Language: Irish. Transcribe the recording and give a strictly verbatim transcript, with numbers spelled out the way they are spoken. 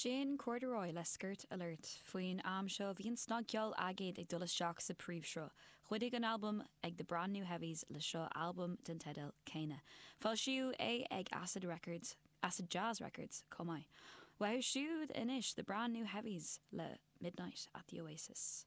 Sin Corduroy le Skirt Alert faoin am seo bhí an snagcheol aigéid ag dul isteach sa príomhshruth. Chuidigh an album ag the Brand New Heavies le seo album den teideal céanna. Foilsíodh é ag Acid Records, Acid Jazz Records chomh maith. Uathu siúd anois the Brand New Heavies le Midnight at the Oasis.